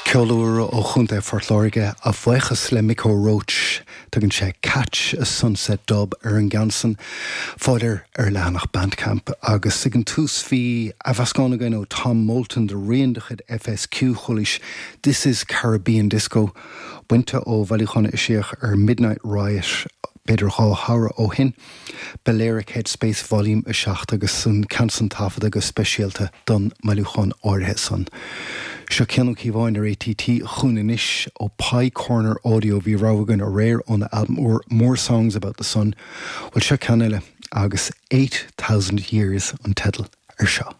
Ceol úr ó Chontae Phort Láirge, a bhuíochas le Micko Roach. Tugann sé 'Catch a Sunset Dub' ar an gceann san. Fáil air ar a leathanach Bandcamp. Agus ag an tús bhí athmheascán againn ó Tom Moulton de rian de chuid FSQ, chualaís 'This is Caribbean Disco', bainte ó bhailiúchán a eisíodh ar Midnight Riot b'fhéidir 2 shamhradh ó shin. Balearic Headspace Volume 7 agus an ceann san taifeadta go speisialta don mbailiúchán áirithe san. Seo Cian Ó Cíobháin ar ATT chugainn anois ó Pie Corner Audio. Bhí rogha againn aréir óna albam úr More Songs About the Sun. Bhuel seo ceann eile agus 8000 Years an teideal ar seo.